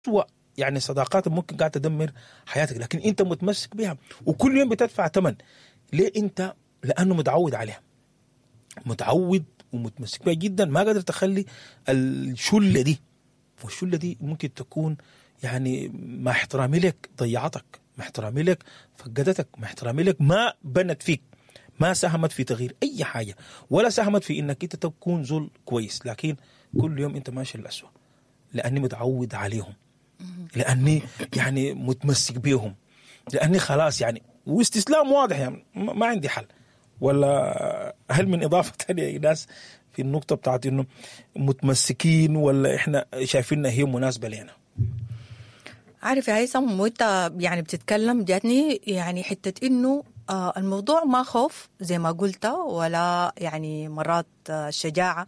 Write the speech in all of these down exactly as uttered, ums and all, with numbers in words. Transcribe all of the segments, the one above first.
اسوأ يعني صداقات ممكن قاعد تدمر حياتك، لكن انت متمسك بها وكل يوم بتدفع ثمن. ليه انت؟ لانه متعود عليها، متعود ومتمسك بها جدا، ما قادر تخلي الشلة دي. والشله دي ممكن تكون يعني مع احترامي لك ضيعتك، مع احترامي لك فقدتك، مع احترامي لك ما بنت فيك، ما ساهمت في تغيير اي حاجة، ولا ساهمت في انك انت تكون زول كويس، لكن كل يوم انت ماشي للأسوأ لاني متعود عليهم، لاني يعني متمسك بيهم، لاني خلاص يعني واستسلام واضح، يعني ما عندي حل. ولا هل من اضافه ثانية يا ناس في النقطة بتاعت انه متمسكين ولا احنا شايفينها هي مناسبة لنا؟ عارف يا هيثم وانت يعني بتتكلم جاتني يعني حتة انه آه الموضوع ما خوف زي ما قلت، ولا يعني مرات آه شجاعة،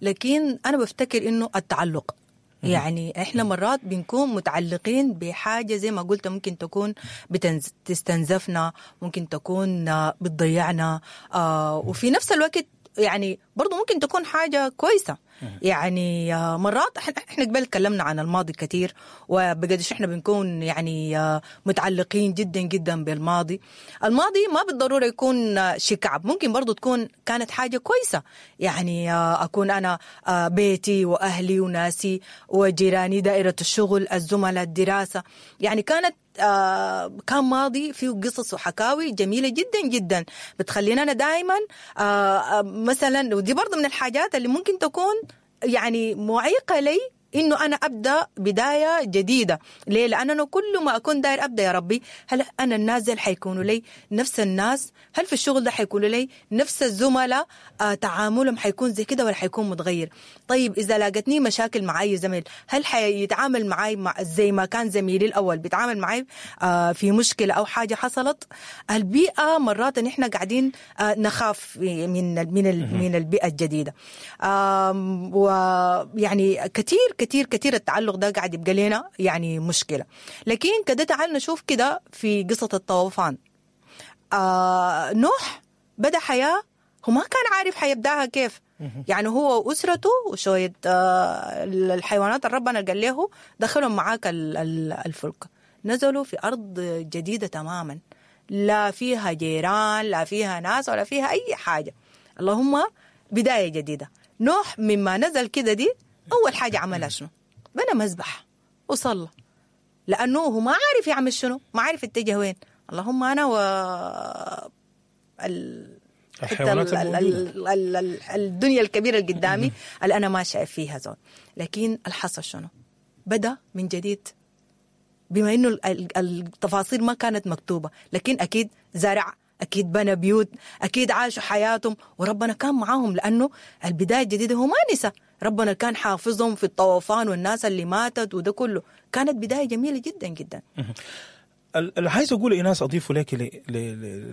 لكن انا بفتكر انه التعلق. يعني احنا مرات بنكون متعلقين بحاجة زي ما قلت ممكن تكون بتستنزفنا، ممكن تكون بتضيعنا، آه وفي نفس الوقت يعني برضو ممكن تكون حاجة كويسة. يعني مرات احنا قبل تكلمنا عن الماضي كثير، وبقدش احنا بنكون يعني متعلقين جدا جدا بالماضي. الماضي ما بالضرورة يكون شيء كعب، ممكن برضو تكون كانت حاجة كويسة. يعني أكون أنا بيتي وأهلي وناسي وجيراني، دائرة الشغل، الزملاء، الدراسة، يعني كانت آه كان ماضي فيه قصص وحكاوي جميلة جدا جدا بتخلينا أنا دائما آه مثلا، ودي برضو من الحاجات اللي ممكن تكون يعني معيقة لي إنه أنا أبدأ بداية جديدة. ليه؟ لأن أنا كل ما أكون داير أبدأ يا ربي، هل أنا الناس دي حيكونوا لي نفس الناس؟ هل في الشغل ده حيكونوا لي نفس الزملاء؟ آه تعاملهم حيكون زي كده ولا حيكون متغير؟ طيب إذا لاقتني مشاكل مع أي زميل، هل حيتعامل معي مع زي ما كان زميلي الأول بيتعامل معي آه في مشكلة أو حاجة حصلت؟ البيئة مرات نحن قاعدين آه نخاف من من من البيئة الجديدة، آه ويعني كثير كثير كثير التعلق ده قاعد يبقى لنا يعني مشكلة. لكن كده تعال نشوف كده في قصة الطوفان. آه نوح بدأ حياة هو ما كان عارف حيبدأها كيف، يعني هو وأسرته وشوية آه الحيوانات اللي ربنا قال له دخلهم معاك الفلك، نزلوا في أرض جديدة تماما، لا فيها جيران لا فيها ناس ولا فيها أي حاجة، اللهم بداية جديدة. نوح مما نزل كده دي أول حاجة عملها شنو؟ بنى مذبح وصلى، لأنه هو ما عارف يعمل شنو، ما عارف اتجه وين. اللهم أنا و ال... الحيوانات ال... ال... ال... ال... الدنيا الكبيرة اللي قدامي اللي أنا ما شايف فيها زول. لكن الحصل شنو؟ بدأ من جديد، بما إنه التفاصيل ما كانت مكتوبة، لكن أكيد زرع، أكيد بنى بيوت، أكيد عاشوا حياتهم، وربنا كان معاهم، لأنه البداية الجديدة هو ما نسى، ربنا كان حافظهم في الطوفان والناس اللي ماتت وده كله. كانت بداية جميلة جدا جدا. اللي عايز أقول إيناس أضيفه لك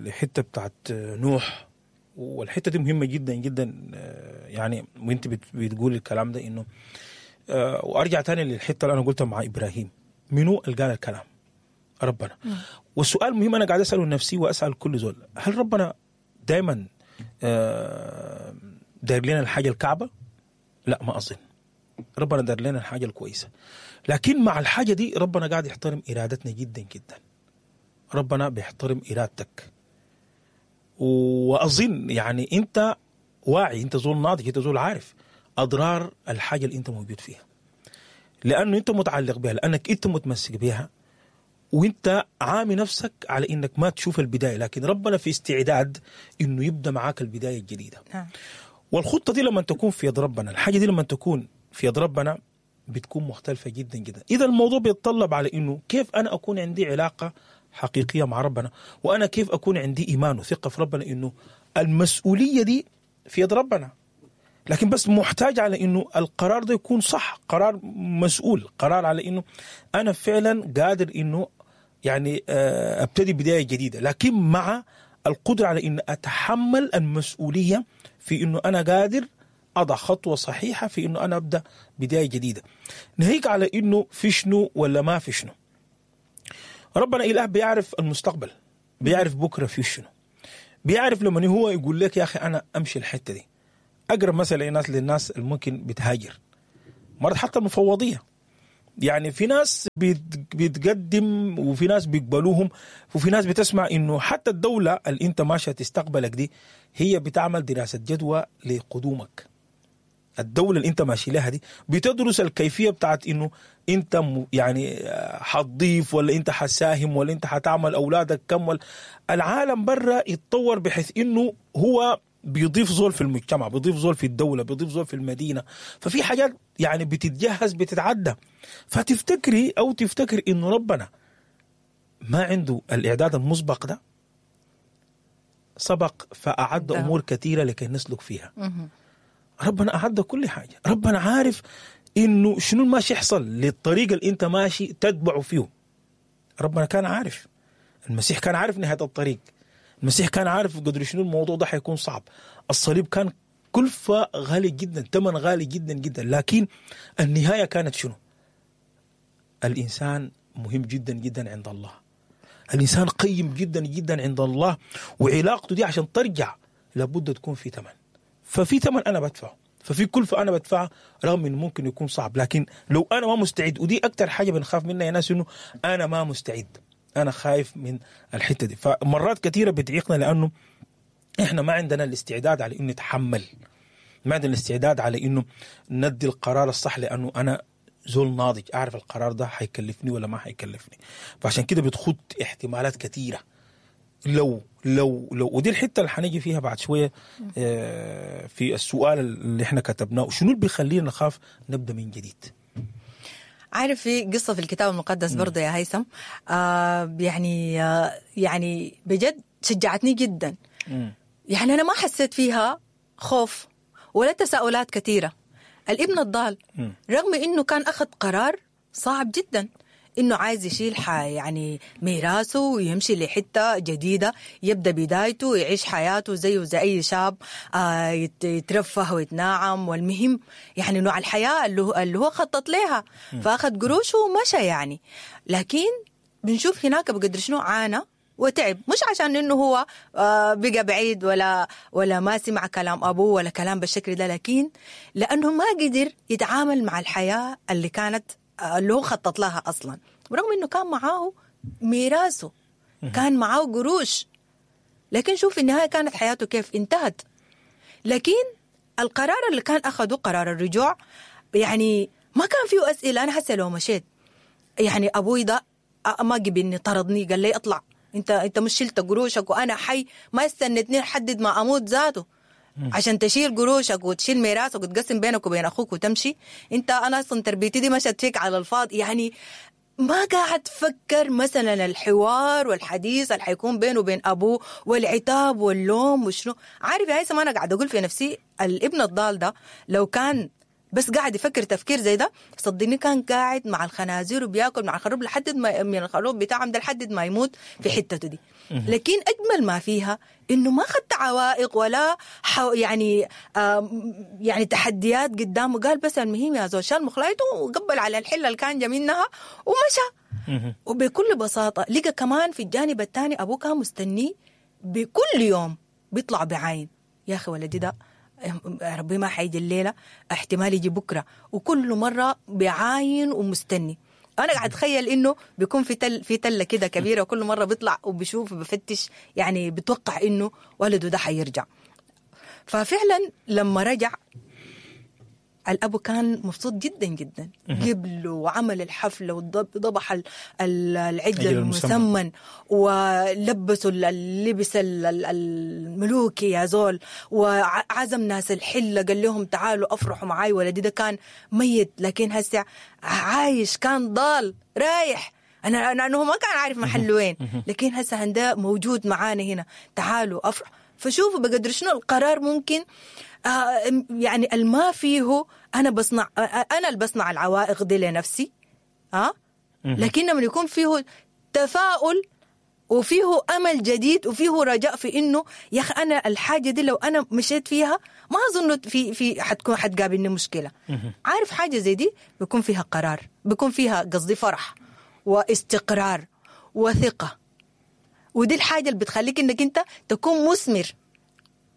لحتة بتاعت نوح، والحتة دي مهمة جدا جدا، يعني وانت بتقول الكلام ده إنه، وأرجع تاني للحتة اللي أنا قلتها مع إبراهيم، منو اللي قال الكلام؟ ربنا. والسؤال مهم أنا قاعد أسأله نفسي وأسأل كل زول، هل ربنا دايما داير لنا الحاجة الكعبة؟ لا ما أظن. ربنا دار لنا الحاجة الكويسة، لكن مع الحاجة دي ربنا قاعد يحترم إرادتنا جدا جدا. ربنا بيحترم إرادتك، وأظن يعني أنت واعي، أنت زول ناضج، أنت زول عارف أضرار الحاجة اللي أنت موجود فيها، لأنه أنت متعلق بها، لأنك أنت متمسك بها، وانت عامي نفسك على انك ما تشوف البداية، لكن ربنا في استعداد انه يبدأ معاك البداية الجديدة. والخطة دي لما تكون في يد ربنا، الحاجة دي لما تكون في يد ربنا بتكون مختلفة جدا جدا. إذا الموضوع بيتطلب على إنه كيف أنا أكون عندي علاقة حقيقية مع ربنا، وأنا كيف أكون عندي إيمان وثقة في ربنا إنه المسؤولية دي في يد ربنا، لكن بس محتاج على إنه القرار ده يكون صح، قرار مسؤول، قرار على إنه أنا فعلا قادر إنه يعني أبتدي بداية جديدة، لكن مع القدرة على إن أتحمل المسؤولية في إنه أنا قادر أضع خطوة صحيحة في إنه أنا أبدأ بداية جديدة. ناهيك على إنه في شنو ولا ما في شنو. ربنا إله بيعرف المستقبل، بيعرف بكرة في شنو، بيعرف لما هو يقول لك يا أخي أنا أمشي الحتة دي. أقرب مثلا للناس للناس اللي ممكن بتهاجر، مرات حتى المفوضية يعني في ناس بيتقدم وفي ناس بيقبلوهم، وفي ناس بتسمع انه حتى الدولة اللي انت ماشية تستقبلك دي هي بتعمل دراسة جدوى لقدومك. الدولة اللي انت ماشي لها دي بتدرس الكيفية بتاعت انه انت يعني حتضيف ولا انت حساهم ولا انت حتعمل اولادك كم ولا. العالم برا يتطور بحيث انه هو بيضيف زول في المجتمع، بيضيف زول في الدولة، بيضيف زول في المدينة. ففي حاجات يعني بتتجهز بتتعدى. فتفتكري أو تفتكر إنه ربنا ما عنده الإعداد المسبق ده؟ سبق فأعد أمور كثيرة لكي نسلك فيها. ربنا أعد كل حاجة. ربنا عارف إنه شنو ماشي يحصل للطريق اللي أنت ماشي تتبعه فيه. ربنا كان عارف، المسيح كان عارف نهاية الطريق، المسيح كان عارف قدر شنو الموضوع ده حيكون صعب. الصليب كان كلفة غالي جدا، ثمن غالي جدا جدا، لكن النهاية كانت شنو؟ الإنسان مهم جدا جدا عند الله، الإنسان قيم جدا جدا عند الله، وعلاقته دي عشان ترجع لابد تكون في ثمن. ففي ثمن أنا بدفعه، ففي كلفة أنا بدفعها رغم إنه ممكن يكون صعب، لكن لو أنا ما مستعد، ودي أكتر حاجة بنخاف منها يا ناس، إنه أنا ما مستعد، أنا خايف من الحتة دي. فمرات كثيرة بتعيقنا لأنه إحنا ما عندنا الاستعداد على إنه نتحمل، ما عندنا الاستعداد على إنه ندي القرار الصح، لأنه أنا زول ناضج أعرف القرار ده حيكلفني ولا ما حيكلفني. فعشان كده بتخط احتمالات كثيرة لو لو لو ودي الحتة اللي حنيجي فيها بعد شوية في السؤال اللي إحنا كتبناه، شنو اللي بيخلينا نخاف نبدأ من جديد؟ عارف في قصة في الكتاب المقدس برضه يا هيثم، آه يعني آه يعني بجد شجعتني جدا. مم. يعني أنا ما حسيت فيها خوف ولا تساؤلات كثيرة. الابن الضال رغم إنه كان أخذ قرار صعب جدا، إنه عايز يشيل يعني ميراثه ويمشي لحتة جديدة، يبدأ بدايته ويعيش حياته زيه زي أي شاب، آه يترفه ويتناعم، والمهم يعني نوع الحياة اللي هو, اللي هو خطط لها، فأخذ قروشه ومشى يعني. لكن بنشوف هناك بقدر شنو عانى وتعب، مش عشان إنه هو آه بقى بعيد ولا ولا ما سمع كلام أبوه ولا كلام بالشكل ده، لكن لأنه ما قدر يتعامل مع الحياة اللي كانت اللي هو خطط لها أصلا، برغم إنه كان معاه ميراثه، كان معاه قروش، لكن شوف في النهاية كانت حياته كيف انتهت. لكن القرار اللي كان أخده قرار الرجوع يعني ما كان فيه أسئلة. أنا هسه لو مشيت يعني أبوي ده ما قبلني، طردني، قال لي أطلع، أنت أنت مش شلت قروشك وأنا حي، ما استنتني لحد ما أموت ذاته عشان تشيل قروشك وتشيل ميراثك وتقسم بينك وبين أخوك وتمشي. أنت أنا أصلا تربيتي دي مشت فيك على الفاضي. يعني ما قاعد تفكر مثلا الحوار والحديث اللي حيكون بينه وبين أبوه والعتاب واللوم وشنو. عارف يا هيثم، أنا قاعد أقول في نفسي الابن الضال ده لو كان بس قاعد يفكر تفكير زي ده، صدقني كان قاعد مع الخنازير وبياكل مع الخروب لحد ما من الخروب بتاعهم ده لحد ما يموت في حتته دي. لكن أجمل ما فيها إنه ما خدت عوائق ولا حو يعني يعني تحديات قدامه. قال بس المهم يا زول شال مخلايته وقبل على الحلة اللي كان جا منها ومشى. وبكل بساطة لقى كمان في الجانب الثاني أبوه كان مستنيه بكل يوم بيطلع بعين، يا أخي ولدي ده ربي ما حيجي الليلة، احتمال يجي بكرة، وكل مرة بعاين ومستني. أنا قاعد أتخيل إنه بيكون في تل في تلة كده كبيرة، وكل مرة بيطلع وبيشوف وبفتش، يعني بتوقع إنه ولده ده حيرجع. ففعلا لما رجع الأبو كان مبسوط جدا جدا، قبله وعمل الحفلة وضبح العجل المسمن ولبسوا اللبس الملوكي يا زول، وعزم ناس الحلة قال لهم تعالوا أفرحوا معاي، ولدي ده كان ميت لكن هسه عايش، كان ضال رايح، أنا أنا ما كان عارف محله وين، لكن هسه عنده موجود معانا هنا، تعالوا أفرح. فشوفوا بقدر شنو القرار ممكن آه يعني الما فيه أنا بصنع، أنا اللي بصنع العوائق دي لنفسي، ها آه؟ لكن لما يكون فيه تفاؤل وفيه أمل جديد وفيه رجاء في إنه يا أخي أنا الحاجة دي لو أنا مشيت فيها ما أظن في في حتكون حتقابلني مشكلة. عارف حاجة زي دي بيكون فيها قرار، بيكون فيها قصدي فرح واستقرار وثقة، ودي الحاجة اللي بتخليك إنك أنت تكون مثمر.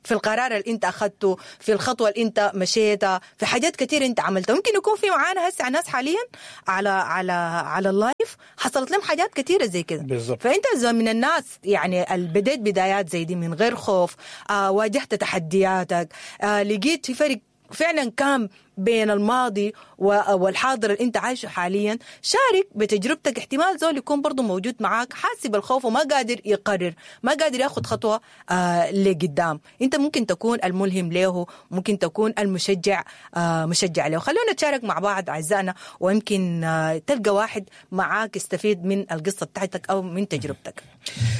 في القرار اللي انت اخذته، في الخطوة اللي انت مشيتها، في حاجات كتير انت عملتها. ممكن يكون في معانا هسه ناس حاليا على على على ال live حصلت لهم حاجات كتيرة زي كده. بالظبط. فانت زي من الناس يعني اللي بديت بدايات زي دي من غير خوف، آه واجهت تحدياتك، آه لقيت في فرق فعلا كان بين الماضي والحاضر اللي انت عايشه حاليا. شارك بتجربتك، احتمال زول يكون برضو موجود معاك حاسب بالخوف وما قادر يقرر، ما قادر ياخد خطوة آه لقدام. انت ممكن تكون الملهم له، ممكن تكون المشجع آه مشجع له. خلونا نتشارك مع بعض اعزائنا، ويمكن آه تلقى واحد معاك يستفيد من القصة بتاعتك او من تجربتك.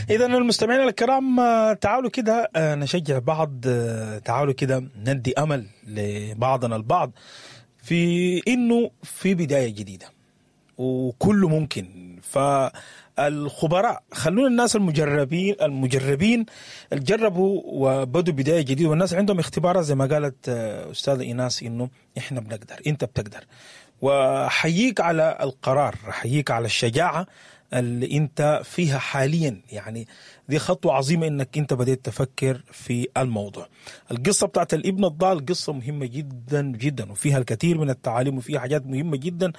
اذا المستمعين الكرام، تعالوا كده نشجع بعض، تعالوا كده ندي امل لبعضنا البعض في انه في بداية جديدة وكله ممكن. فالخبراء، خلونا الناس المجربين المجربين اللي جربوا وبدوا بداية جديدة، والناس عندهم اختبارات زي ما قالت استاذه ايناس انه احنا بنقدر، انت بتقدر. وحييك على القرار، حييك على الشجاعة اللي انت فيها حاليا. يعني دي خطوة عظيمة انك انت بديت تفكر في الموضوع. القصة بتاعت الابن الضال قصة مهمة جدا جدا، وفيها الكثير من التعاليم، وفيها حاجات مهمة جدا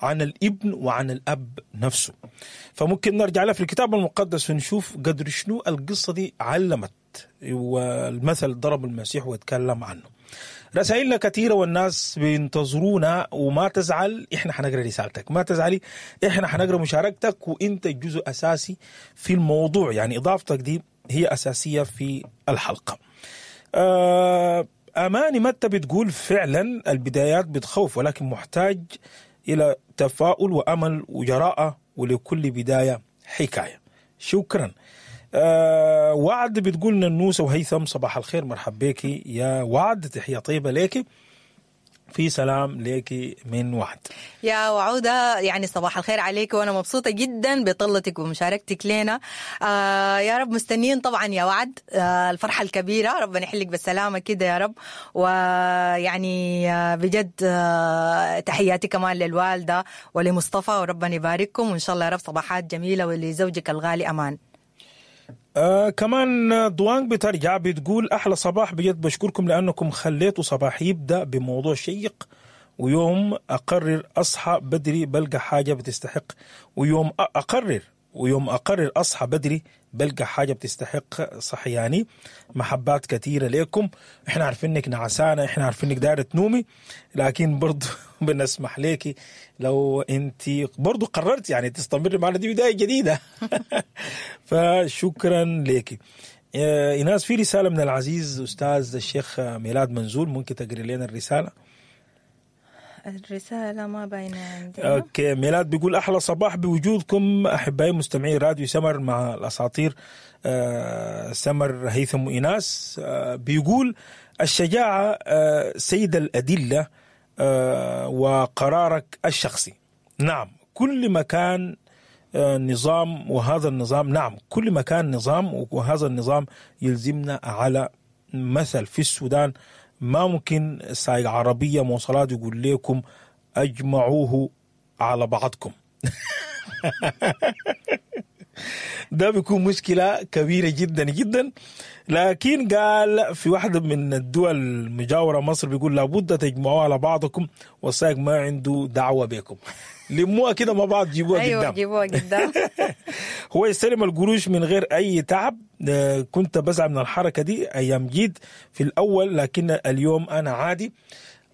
عن الابن وعن الاب نفسه. فممكن نرجع لها في الكتاب المقدس ونشوف قدر شنو القصة دي علمت، والمثل ضرب المسيح واتكلم عنه. رسائلنا كثيرة والناس بينتظرونا، وما تزعل، احنا حنقرا رسالتك، ما تزعلي، احنا حنقرا مشاركتك، وانت جزء اساسي في الموضوع. يعني اضافتك دي هي اساسية في الحلقة. اماني متى بتقول فعلا البدايات بتخوف، ولكن محتاج الى تفاؤل وامل وجراءة، ولكل بداية حكاية. شكرا. أه وعد بتقول ننوسة وهيثم صباح الخير، مرحب بيكي يا وعد، تحية طيبة ليكي، في سلام ليكي من وعد. يا وعودة، يعني صباح الخير عليك، وأنا مبسوطة جدا بطلتك ومشاركتك لنا. آه يا رب مستنيين طبعا يا وعد، آه الفرحة الكبيرة، ربنا يحلك بالسلامة كده يا رب. ويعني آه بجد آه تحياتي كمان للوالدة ولمصطفى، وربنا يبارككم، وإن شاء الله يا رب صباحات جميلة، ولزوجك الغالي أمان. آه كمان دوانج بترجع بتقول أحلى صباح، بجد بشكركم لأنكم خليتوا صباح يبدأ بموضوع شيق، ويوم أقرر أصحى بدري بلقى حاجة بتستحق، ويوم أقرر ويوم أقرر أصحى بدري بلقى حاجة بتستحق صحياني. محبات كثيرة لكم، احنا عارفين انك نعسانة، احنا عارفين انك دايرة تنومي، لكن برضو بنسمح لك لو انت برضو قررت يعني تستمر معنا، دي بداية جديدة. فشكرا لك إيناس. في رسالة من العزيز أستاذ الشيخ ميلاد منزول، ممكن تقري لنا الرسالة؟ الرسالة ما باينة عندنا. okay، ميلاد بيقول أحلى صباح بوجودكم أحبائي مستمعي راديو سمر مع الأساطير آه سمر هيثم وإيناس. آه بيقول الشجاعة آه سيد الأدلة آه وقرارك الشخصي. نعم كل مكان آه نظام، وهذا النظام نعم كل مكان نظام، وهذا النظام يلزمنا على مثل في السودان ما ممكن سايق عربية مواصلات يقول لكم أجمعوه على بعضكم. ده بيكون مشكلة كبيرة جدا جدا. لكن قال في واحدة من الدول المجاورة مصر بيقول لابد تجمعوه على بعضكم، والسائق ما عنده دعوة بكم، لموها كده مع بعض، جيبوها أيوة قدام. جيبوها قدام. هو يستلم القروش من غير أي تعب. كنت بزعل من الحركة دي أيام جيت في الأول، لكن اليوم أنا عادي.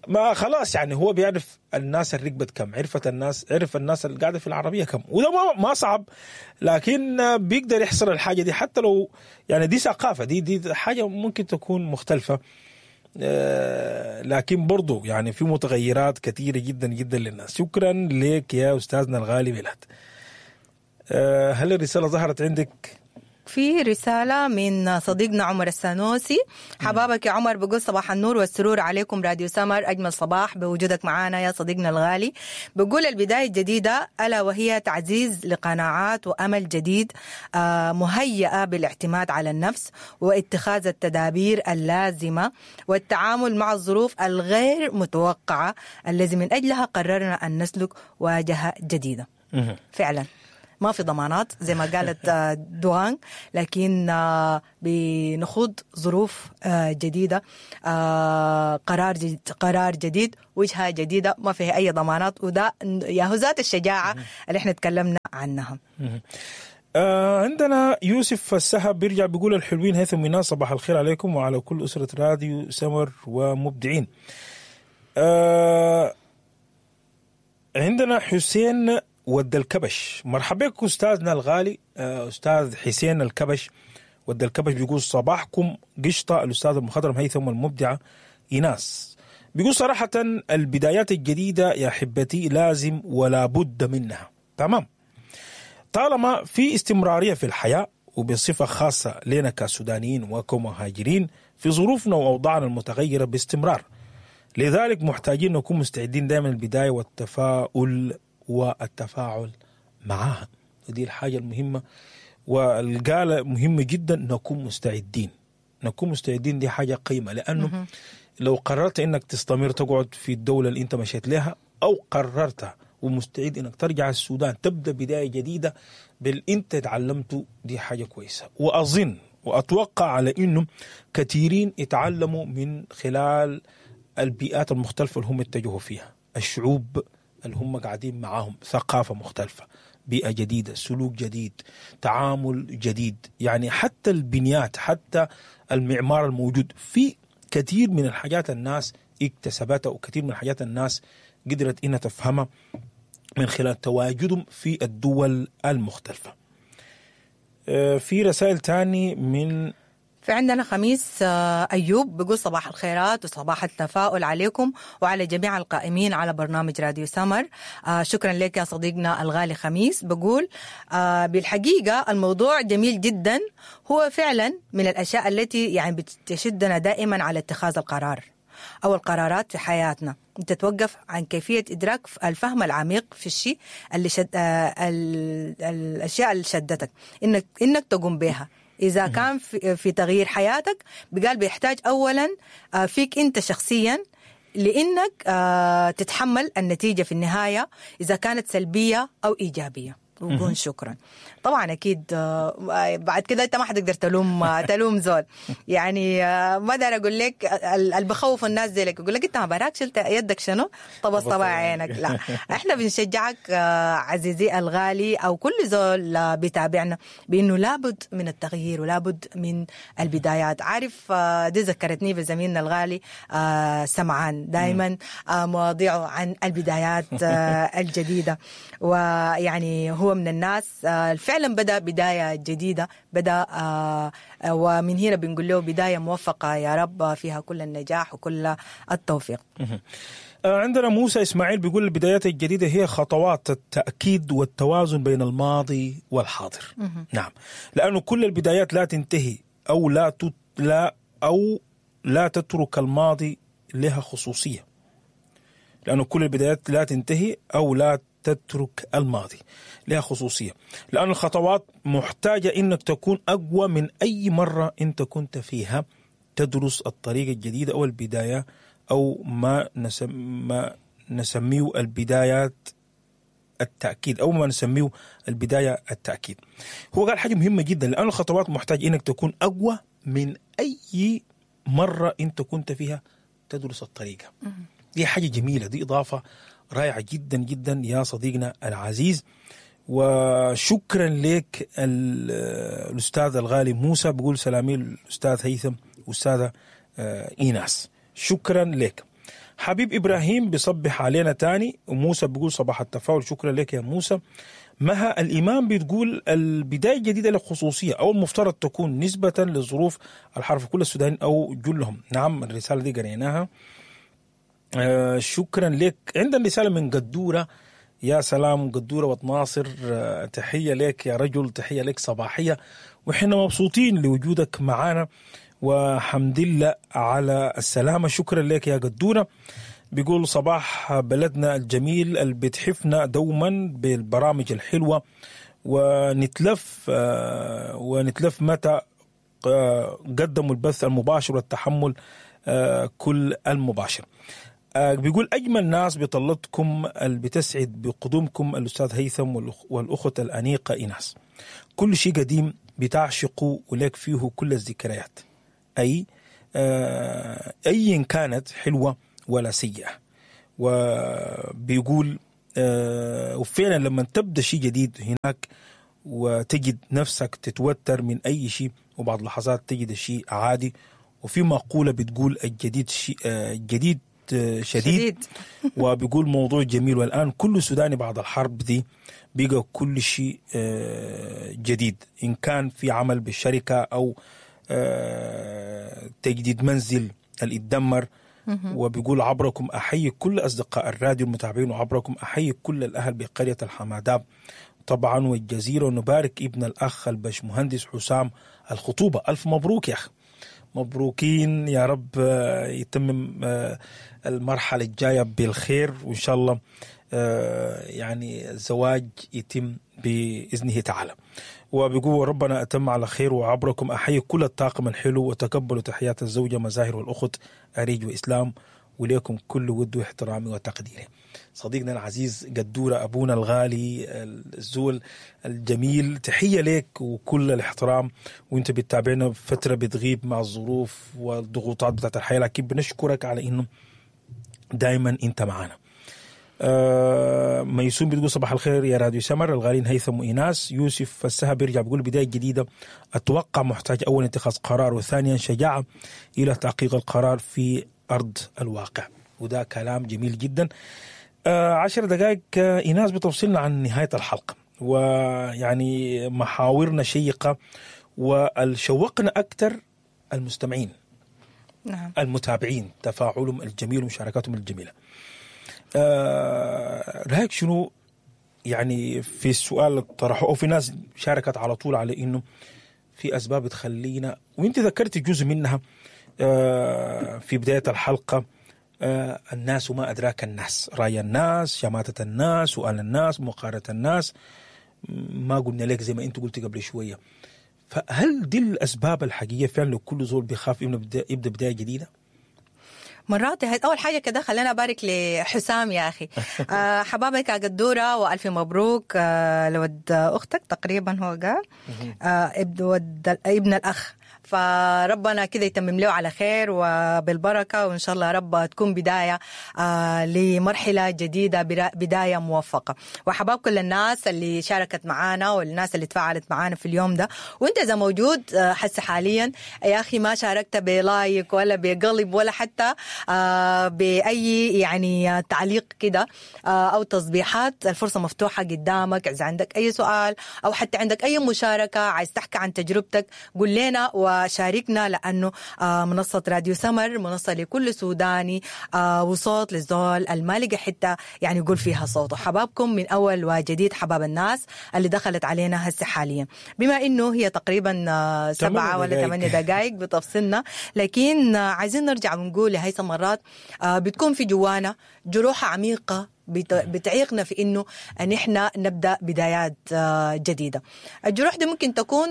ما خلاص يعني هو بيعرف الناس الركبت كم، عرفت الناس، عرف الناس اللي قاعدة في العربية كم، وده ما ما صعب، لكن بيقدر يحصل الحاجة دي حتى لو يعني دي ثقافة، دي دي حاجة ممكن تكون مختلفة، لكن برضو يعني في متغيرات كثيرة جدا جدا للناس. شكرا لك يا أستاذنا الغالي ميلاد. هل الرسالة ظهرت عندك؟ في رسالة من صديقنا عمر السانوسي. حبابك يا عمر، بقول صباح النور والسرور عليكم راديو سمر، أجمل صباح بوجودك معانا يا صديقنا الغالي. بقول البداية الجديدة ألا وهي تعزيز لقناعات وأمل جديد مهيئة بالاعتماد على النفس واتخاذ التدابير اللازمة والتعامل مع الظروف الغير متوقعة الذي من أجلها قررنا أن نسلك واجهة جديدة. فعلا ما في ضمانات زي ما قالت دوان، لكن بنخوض ظروف جديدة، قرار جديد، قرار جديد، وجهة جديدة، ما فيها أي ضمانات، وده ياهو ذات الشجاعة اللي احنا تكلمنا عنها. آه عندنا يوسف السهب بيرجع بيقول الحلوين هيثم وإيناس، صباح الخير عليكم وعلى كل أسرة راديو سمر ومبدعين. آه عندنا حسين ود الكبش، مرحبا بك أستاذنا الغالي آه أستاذ حسين الكبش ود الكبش، بيقول صباحكم قشطة الأستاذ المخضرم هيثم والمبدعة إيناس. بيقول صراحة البدايات الجديدة يا حبتي لازم ولا بد منها، تمام، طالما في استمرارية في الحياة وبصفة خاصة لنا كسودانيين وكمهاجرين في ظروفنا وأوضاعنا المتغيرة باستمرار، لذلك محتاجين نكون مستعدين دائما البداية والتفاؤل والتفاعل معها. ودي الحاجة المهمة والقالة مهمة جدا، نكون مستعدين، نكون مستعدين دي حاجة قيمة، لأنه لو قررت إنك تستمر تقعد في الدولة اللي أنت مشيت لها، أو قررت ومستعد إنك ترجع السودان تبدأ بداية جديدة بالإنت تعلمته، دي حاجة كويسة. وأظن وأتوقع على إنه كثيرين يتعلموا من خلال البيئات المختلفة اللي هم اتجهوا فيها، الشعوب اللي هم قاعدين معاهم، ثقافة مختلفة، بيئة جديدة، سلوك جديد، تعامل جديد، يعني حتى البنيات، حتى المعمار الموجود، في كثير من الحاجات الناس اكتسبتها، وكثير من الحاجات الناس قدرت إنها تفهمها من خلال تواجدهم في الدول المختلفة. في رسائل تاني من في عندنا خميس أيوب بيقول صباح الخيرات وصباح التفاؤل عليكم وعلى جميع القائمين على برنامج راديو سمر. شكرا لك يا صديقنا الغالي خميس. بقول بالحقيقة الموضوع جميل جدا، هو فعلا من الأشياء التي يعني بتشدنا دائما على اتخاذ القرار أو القرارات في حياتنا، تتوقف عن كيفية إدراك الفهم العميق في الشيء اللي شد الأشياء اللي شدتك إنك إنك تقوم بها. إذا كان في, في تغيير حياتك بقال بيحتاج أولا فيك أنت شخصيا، لأنك تتحمل النتيجة في النهاية إذا كانت سلبية أو إيجابية. وقول شكرا. طبعا اكيد بعد كده انت ما حتقدر تلوم تلوم زول، يعني ما اقدر اقول لك اللي بخوف الناس زيك يقول لك انت ما براك شلت يدك شنو طبس طبع عينك، لا احنا بنشجعك عزيزي الغالي او كل زول بيتابعنا بانه لابد من التغيير ولابد من البدايات. عارف دي ذكرتني بزميلنا الغالي سمعان، دائما مواضيعه عن البدايات الجديدة، ويعني هو من الناس فعلا بدأ بداية جديدة، بدأ ومن هنا بنقول له بداية موفقة يا رب فيها كل النجاح وكل التوفيق. عندنا موسى إسماعيل بيقول البدايات الجديدة هي خطوات التأكيد والتوازن بين الماضي والحاضر. نعم، لأنه كل البدايات لا تنتهي أو لا تت لا أو لا تترك الماضي لها خصوصية، لأنه كل البدايات لا تنتهي أو لا تترك الماضي لها خصوصية، لأن الخطوات محتاجة إنك تكون أقوى من أي مرة أنت كنت فيها تدرس الطريقة الجديدة أو البداية أو ما, نسم ما نسميه البدايات التأكيد أو ما نسميه البداية التأكيد. هو قال حاجة مهمة جدا، لأن الخطوات محتاج إنك تكون أقوى من أي مرة أنت كنت فيها تدرس الطريقة. دي حاجة جميلة، دي إضافة رائعة جدا جدا يا صديقنا العزيز، وشكرا لك الأستاذ الغالي موسى. بقول سلامي الأستاذ هيثم والأستاذة إيناس، شكرا لك. حبيب إبراهيم بيصبح علينا تاني، وموسى بيقول صباح التفاؤل، شكرا لك يا موسى. مها الإمام بتقول البداية الجديدة للخصوصية أو المفترض تكون نسبة لظروف الحرب في كل السودان أو جلهم. نعم، الرسالة دي قريناها، آه شكرا لك. عندنا رسالة من قدورة، يا سلام قدورة وتناصر، آه تحية لك يا رجل، تحية لك صباحية، وحنا مبسوطين لوجودك معانا وحمد لله على السلامة، شكرا لك يا قدورة. بيقول صباح بلدنا الجميل اللي بتحفنا دوما بالبرامج الحلوة، ونتلف آه ونتلف متى آه قدموا البث المباشر والتحمل آه كل المباشر. آه بيقول اجمل ناس بطلتكم اللي بتسعد بقدومكم الاستاذ هيثم والاخت الانيقه ايناس. كل شيء قديم بتعشقه ولك فيه كل الذكريات، اي آه ايا كانت حلوة ولا سيئه. وبيقول آه وفعلا لما تبدا شيء جديد هناك وتجد نفسك تتوتر من اي شيء، وبعض لحظات تجد الشيء عادي. وفي مقولة بتقول الجديد شيء آه الجديد شديد, شديد. وبيقول موضوع جميل، والآن كل سوداني بعد الحرب دي بقى كل شيء جديد، إن كان في عمل بالشركة أو تجديد منزل اللي اتدمر. وبيقول عبركم أحيي كل أصدقاء الراديو المتابعين، وعبركم أحيي كل الأهل بقرية الحماداب طبعا والجزيرة، ونبارك ابن الأخ البش مهندس حسام الخطوبة. ألف مبروك يا أخي، مبروكين يا رب، يتمم المرحلة الجاية بالخير، وإن شاء الله يعني الزواج يتم بإذنه تعالى. وبيقول ربنا أتم على خير، وعبركم أحيي كل الطاقم الحلو، وتقبلوا تحيات الزوجة مزاهر والأخت أريج وإسلام، وليكم كل ود واحترامي وتقديري. صديقنا العزيز قدورة، أبونا الغالي الزول الجميل، تحية لك وكل الاحترام. وانت بتتابعنا فترة بتغيب مع الظروف والضغوطات بتاعت الحياة، لكن بنشكرك على انه دايما انت معنا. آه ميسون بتقول صباح الخير يا راديو سمر الغالين هيثم وإيناس. يوسف السهب بيرجع بيقول بداية جديدة، أتوقع محتاج أولا اتخاذ قرار، وثانيا شجاعة إلى تحقيق القرار في أرض الواقع. وده كلام جميل جدا. آه عشر دقائق آه إيناس بتفصلنا عن نهاية الحلقة، ويعني محاورنا شيقة، والشوقنا أكثر المستمعين، نعم، المتابعين، تفاعلهم الجميل ومشاركاتهم الجميلة. آه رأيك شنو يعني في السؤال اللي طرحه، أو في ناس شاركت على طول على إنه في أسباب تخلينا، وإنت ذكرت جزء منها آه في بداية الحلقة، آه الناس وما أدراك الناس، رأي الناس، شماتة الناس، سؤال الناس، مقارنة الناس، ما قلنا لك زي ما أنت قلت قبل شوية. فهل دي الأسباب الحقيقية فعلا لكل زول بيخاف إنه يبدأ بداية جديدة؟ مرات أول حاجة كده خلينا أبارك لحسام يا أخي، آه حبابك يا قدورة، وألف مبروك آه لود أختك، تقريبا هو قال آه ابن ود ابن الأخ، فربنا كده يتمم له على خير وبالبركة، وإن شاء الله رب تكون بداية آه لمرحلة جديدة، بداية موفقة. وحباب كل الناس اللي شاركت معانا والناس اللي تفاعلت معانا في اليوم ده. وانت إذا موجود حس حاليا يا أخي ما شاركت بلايك ولا بقلب ولا حتى آه بأي يعني تعليق كده آه أو تصبيحات، الفرصة مفتوحة قدامك. إذا عندك أي سؤال أو حتى عندك أي مشاركة، عايز تحكي عن تجربتك، قول لنا وشاركنا، لأنه منصة راديو سمر منصة لكل سوداني وصوت للزول المالقة حتى يعني يقول فيها صوته. حبابكم من أول وجديد، حباب الناس اللي دخلت علينا هسه حاليا، بما إنه هي تقريبا سبعة ولا ثمانية دقائق بتفصلنا، لكن عايزين نرجع ونقول لهيثم مرات بتكون في جوانا جروح عميقة بتعيقنا في إنه أن إحنا نبدأ بدايات جديدة. الجروح دي ممكن تكون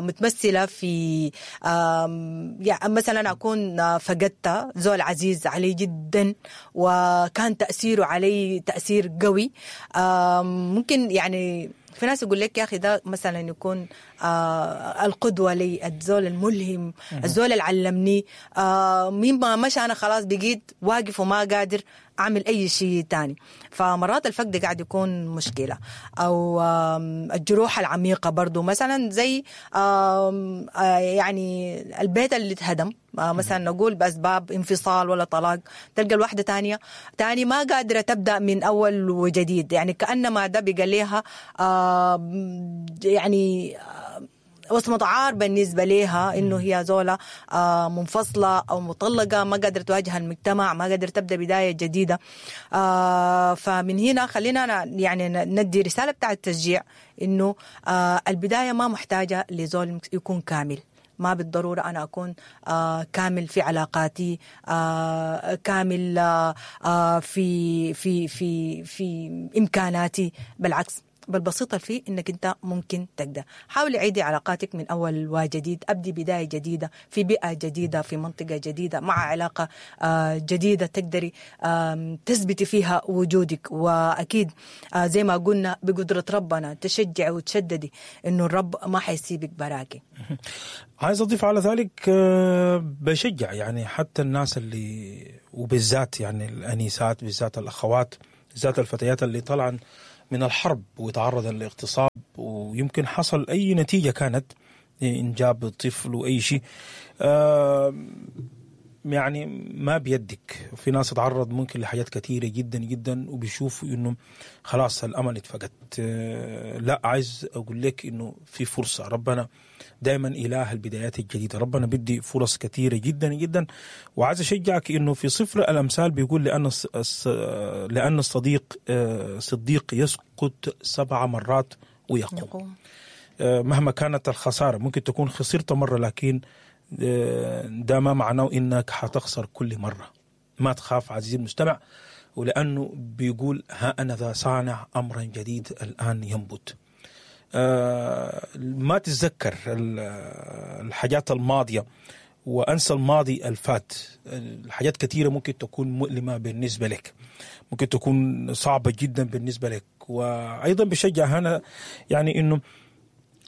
متمثلة في يعني مثلا أكون فقدت زول عزيز علي جدا وكان تأثيره علي تأثير قوي. ممكن يعني في ناس يقول لك يا أخي ده مثلا يكون آه القدوة لي، الزول الملهم، الزول اللي علمني، آه مما مشى أنا خلاص بقيت واقف وما قادر أعمل أي شيء تاني. فمرات الفقد قاعد يكون مشكلة، أو آه الجروح العميقة برضو، مثلا زي آه يعني البيت اللي اتهدم آه مثلا نقول بأسباب انفصال ولا طلاق، تلقى الواحدة تانية تاني ما قادرة تبدأ من أول وجديد، يعني كأنما ده بقى لها آه يعني وصمة عار بالنسبة لها، إنه هي زولة منفصلة أو مطلقة، ما قادرة تواجه المجتمع، ما قادرة تبدأ بداية جديدة. فمن هنا خلينا يعني ندي رسالة بتاع التشجيع، إنه البداية ما محتاجة لزول يكون كامل، ما بالضرورة أنا أكون آه كامل في علاقاتي، آه كامل آه في في في في إمكاناتي، بالعكس بالبسيطة فيه إنك أنت ممكن تقدر. حاولي عيدي علاقاتك من أول وجديد، أبدي بداية جديدة في بيئة جديدة، في منطقة جديدة، مع علاقة جديدة تقدري تثبتي فيها وجودك. وأكيد زي ما قلنا بقدرة ربنا تشجعي وتشددي إنه الرب ما حيسيبك براكي. عايز أضيف على ذلك، بشجع يعني حتى الناس اللي وبالذات يعني الأنيسات، بالذات الأخوات، بالذات الفتيات اللي طلعن من الحرب وتعرض للاغتصاب ويمكن حصل أي نتيجة كانت إنجاب طفل وأي شيء، يعني ما بيدك. في ناس تتعرض ممكن لحاجات كثيرة جدا جدا وبيشوفوا إنه خلاص الأمل اتفقد. لا، عايز أقول لك إنه في فرصة. ربنا دائما إله البدايات الجديدة، ربنا بدي فرص كثيرة جدا جدا. وعايز أشجعك إنه في صفر الأمثال بيقول لأن لأن الصديق صديق يسقط سبع مرات ويقوم. يقوم. مهما كانت الخسارة، ممكن تكون خسرت مرة لكن ده ما معناه إنك حتخسر كل مرة. ما تخاف عزيزي المستمع، ولأنه بيقول ها أنا ذا صانع أمرا جديد الآن ينبت. ما تتذكر الحاجات الماضية وأنسى الماضي الفات. الحاجات كثيرة ممكن تكون مؤلمة بالنسبة لك، ممكن تكون صعبة جدا بالنسبة لك. وأيضا بشجع هنا يعني إنه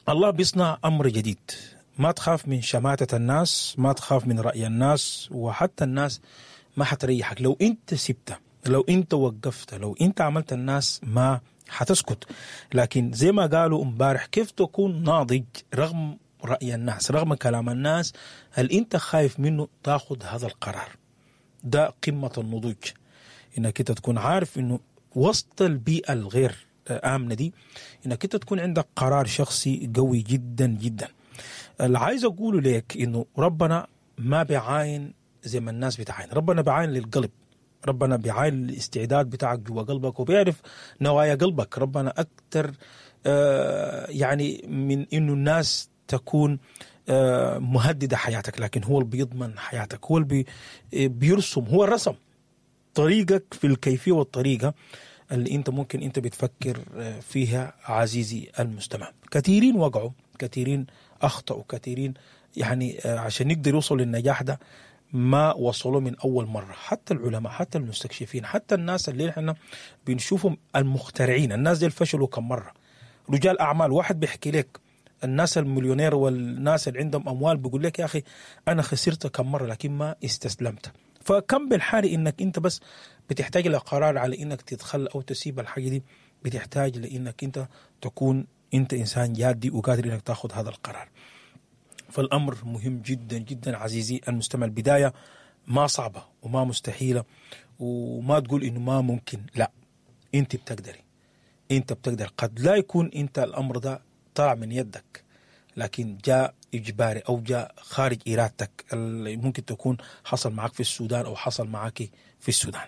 الله بيصنع أمر جديد. ما تخاف من شماتة الناس، ما تخاف من رأي الناس، وحتى الناس ما حتريحك لو أنت سبته، لو أنت وقفت، لو أنت عملت الناس ما حتسكت. لكن زي ما قالوا امبارح، كيف تكون ناضج رغم رأي الناس، رغم كلام الناس؟ هل أنت خايف منه تاخذ هذا القرار؟ ده قمة النضوج، إنك أنت تكون عارف إنه وسط البيئة الغير آمنة دي إنك أنت تكون عندك قرار شخصي قوي جدا جدا. اللي عايز أقوله لك إنه ربنا ما بيعاين زي ما الناس بتعاين، ربنا بيعاين للقلب، ربنا بيعاين للاستعداد بتاعك جوا قلبك وبيعرف نوايا قلبك. ربنا أكتر آه يعني من إنه الناس تكون آه مهددة حياتك، لكن هو اللي بيضمن حياتك، هو اللي بي بيرسم، هو الرسم طريقك في الكيفية والطريقة اللي أنت ممكن أنت بتفكر فيها عزيزي المستمع. كثيرين وقعوا، كثيرين أخطأوا، كثيرين يعني عشان يقدر يوصل للنجاح ده ما وصلوا من أول مرة. حتى العلماء، حتى المستكشفين، حتى الناس اللي احنا بنشوفهم المخترعين، الناس دي فشلوا كم مرة. رجال أعمال، واحد بيحكي لك الناس المليونير والناس اللي عندهم أموال بيقول لك يا أخي أنا خسرت كم مرة لكن ما استسلمت. فكم بالحالي إنك أنت بس بتحتاج لقرار على إنك تتخلى أو تسيب الحاجة دي، بتحتاج لإنك أنت تكون أنت إنسان جادي وقادر إنك تأخذ هذا القرار. فالأمر مهم جدا جدا عزيزي المستمع. البداية ما صعبة وما مستحيلة، وما تقول إنه ما ممكن، لا، أنت بتقدري، أنت بتقدر. قد لا يكون أنت الأمر ده طلع من يدك، لكن جاء إجباري أو جاء خارج إرادتك، اللي ممكن تكون حصل معك في السودان أو حصل معك في السودان.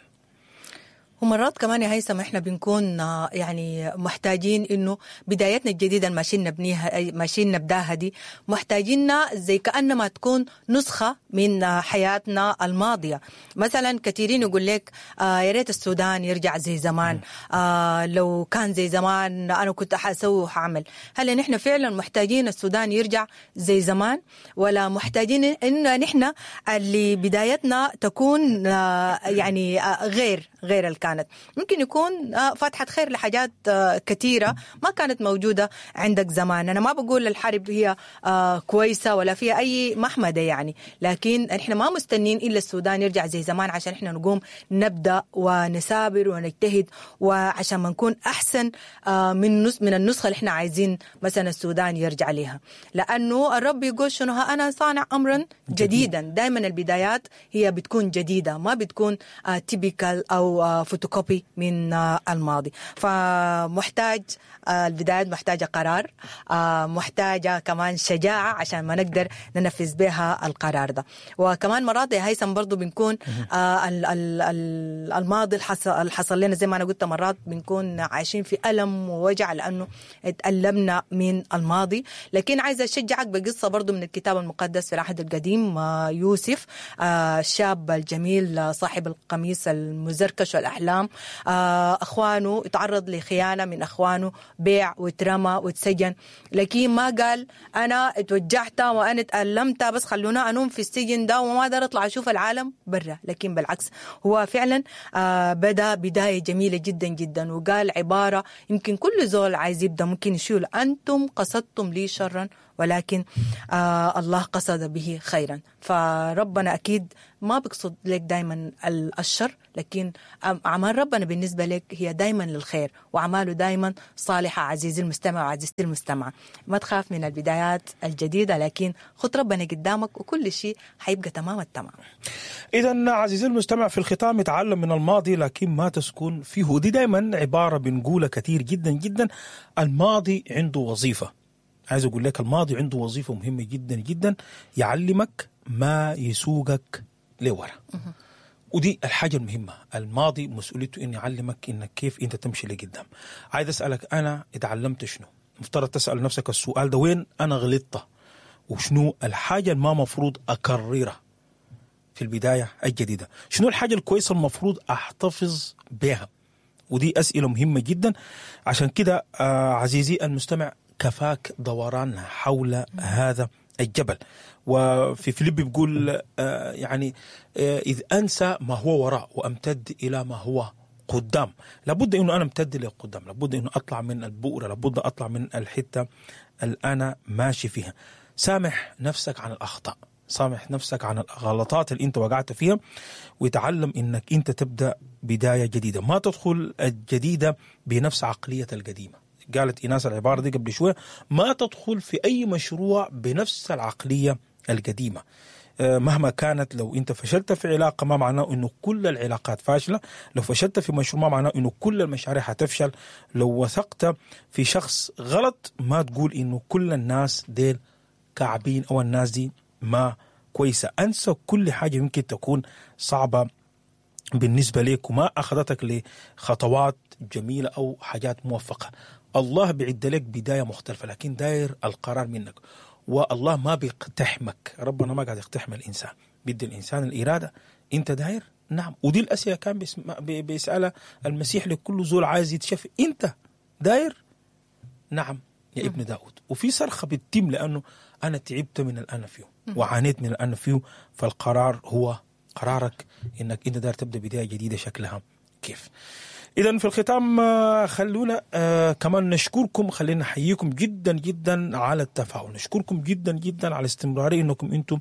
ومرات كمان يا هيثم احنا بنكون يعني محتاجين انه بدايتنا الجديده اللي ماشيين نبنيها، ماشيين نبداها دي، محتاجيننا زي كانما تكون نسخه من حياتنا الماضيه. مثلا كثيرين يقول لك آه يا ريت السودان يرجع زي زمان، آه لو كان زي زمان انا كنت حاسوي وحاعمل. هل نحن فعلا محتاجين السودان يرجع زي زمان، ولا محتاجين ان نحن اللي بدايتنا تكون آه يعني آه غير غير الكان؟ كانت ممكن يكون فاتحة خير لحاجات كثيرة ما كانت موجودة عندك زمان. أنا ما بقول الحرب هي كويسة ولا فيها أي محمدة يعني، لكن إحنا ما مستنين إلا السودان يرجع زي زمان عشان إحنا نقوم نبدأ ونسابر ونجتهد، وعشان ما نكون أحسن من من النسخة اللي إحنا عايزين مثلا السودان يرجع لها. لأنه الرب يقول شنو؟ أنا صانع أمرا جديدا. دائما البدايات هي بتكون جديدة، ما بتكون typical أو فوتوكوبي من الماضي. فمحتاج البدايات، محتاجة قرار، محتاجة كمان شجاعة عشان ما نقدر ننفذ بها القرار ده. وكمان مرات يا هيثم برضو بنكون الماضي اللي حصل لنا زي ما أنا قلت، مرات بنكون عايشين في ألم ووجع لأنه اتألمنا من الماضي. لكن عايزة أشجعك بقصة برضو من الكتاب المقدس في العهد القديم، يوسف الشاب الجميل صاحب القميص المزركش والأحلام احلام. آه اخوانه اتعرض لخيانه من اخوانه، بيع واترمى واتسجن، لكن ما قال انا اتوجعت وانا اتألمت بس خلونا انوم في السجن ده وما اقدر اطلع اشوف العالم برا. لكن بالعكس هو فعلا آه بدا بداية جميلة جدا جدا، وقال عبارة يمكن كل زول عايز يبدا ممكن يشيل: انتم قصدتم لي شرا ولكن آه الله قصد به خيرا. فربنا أكيد ما بيقصد لك دايما الشر، لكن أعمال ربنا بالنسبة لك هي دايما للخير، وأعماله دايما صالحة. عزيزي المستمع وعزيزتي المستمعة، ما تخاف من البدايات الجديدة، لكن خد ربنا قدامك وكل شيء حيبقى تمام التمام. إذا عزيزي المستمع، في الختام، اتعلم من الماضي لكن ما تسكن فيه. ودي دايما عبارة بنقولها كثير جدا جدا. الماضي عنده وظيفة، عايز أقول لك الماضي عنده وظيفة مهمة جدا جدا، يعلمك ما يسوقك لورا. ودي الحاجة المهمة. الماضي مسؤوليته إن يعلمك إنك كيف أنت تمشي لقدام. عايز أسألك، أنا اتعلمت شنو؟ مفترض تسأل نفسك السؤال ده: وين أنا غلطت؟ وشنو الحاجة اللي ما مفروض أكررها في البداية الجديدة؟ شنو الحاجة الكويسة المفروض أحتفظ بها؟ ودي أسئلة مهمة جدا. عشان كده آه عزيزي المستمع، كفاك دوران حول هذا الجبل. وفي فيليب بيقول آه يعني آه إذ أنسى ما هو وراء وأمتد إلى ما هو قدام. لابد أنه أنا امتد لقدام، لابد أنه أطلع من البؤرة، لابد أطلع من الحتة اللي أنا ماشي فيها. سامح نفسك عن الأخطاء، سامح نفسك عن الغلطات اللي انت وقعت فيها، وتعلم انك انت تبدأ بداية جديدة. ما تدخل الجديدة بنفس عقلية القديمة. قالت إيناس العبارة دي قبل شوية: ما تدخل في أي مشروع بنفس العقلية القديمة مهما كانت. لو انت فشلت في علاقة ما معناه انه كل العلاقات فاشلة، لو فشلت في مشروع ما معناه انه كل المشاريع هتفشل، لو وثقت في شخص غلط ما تقول انه كل الناس ديل كعبين او الناس دي ما كويسة. انسى كل حاجة يمكن تكون صعبة بالنسبة لك وما اخذتك لخطوات جميلة او حاجات موفقة. الله بيعد لك بداية مختلفة، لكن داير القرار منك. والله ما بيقتحمك، ربنا ما قاعد يقتحم الإنسان، بيدي الإنسان الإرادة. أنت داير؟ نعم. ودي الأسئلة كان بيسألها المسيح لكل زول عايز يتشفي: أنت داير؟ نعم يا ابن داود. وفي صرخة بتتم لأنه أنا تعبت من الأنا فيه وعانيت من الأنا فيه. فالقرار هو قرارك، إنك أنت داير تبدأ بداية جديدة شكلها كيف. إذا في الختام خلونا آه كمان نشكركم، خلينا نحييكم جدا جدا على التفاعل، نشكركم جدا جدا على استمرارية إنكم أنتم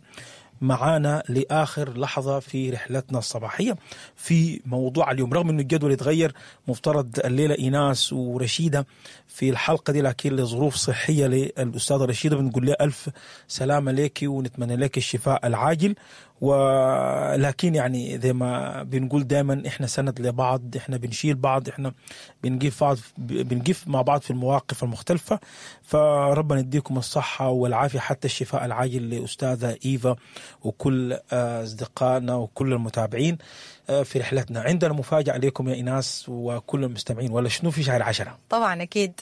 معانا لآخر لحظة في رحلتنا الصباحية في موضوع اليوم. رغم أنه الجدول يتغير، مفترض الليلة إيناس ورشيدة في الحلقة دي، لكن لظروف صحية للأستاذة رشيدة بنقول لها ألف سلامة لك ونتمنى لك الشفاء العاجل. ولكن يعني زي ما بنقول دائما احنا سند لبعض، احنا بنشيل بعض، احنا بنقف بعض، بنقف مع بعض في المواقف المختلفة. فربنا يديكم الصحة والعافية حتى الشفاء العاجل لأستاذة إيفا وكل أصدقائنا وكل المتابعين في رحلتنا. عندنا مفاجأة لكم يا إيناس وكل المستمعين، ولا شنو في شهر عشرة؟ طبعا أكيد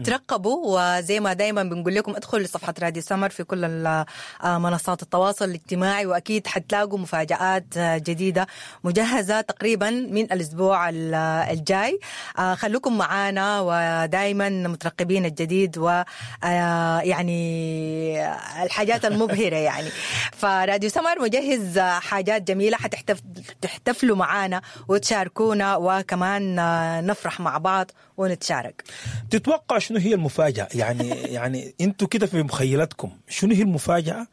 ترقبوا، وزي ما دايما بنقول لكم ادخلوا لصفحة راديو سمر في كل منصات التواصل الاجتماعي، وأكيد حتلاقوا مفاجآت جديدة مجهزة تقريبا من الأسبوع الجاي. خلوكم معانا ودايما مترقبين الجديد ويعني الحاجات المبهرة يعني. فراديو سمر مجهز حاجات جميلة حتحتفلوا معانا وتشاركونا، وكمان نفرح مع بعض ونتشارك. تتوقع شنو هي المفاجأة؟ يعني يعني انتوا كده في مخيلتكم شنو هي المفاجأة؟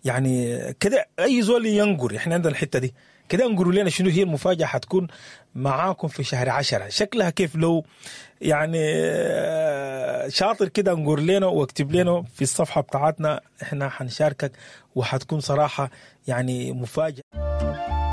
يعني كده اي زول ينقر، احنا عندنا الحتة دي كده، انقروا لنا شنو هي المفاجأة حتكون معاكم في شهر عشرة، شكلها كيف؟ لو يعني شاطر كده انقر لنا واكتب لنا في الصفحة بتاعتنا، احنا حنشاركك وحتكون صراحة يعني مفاجأة.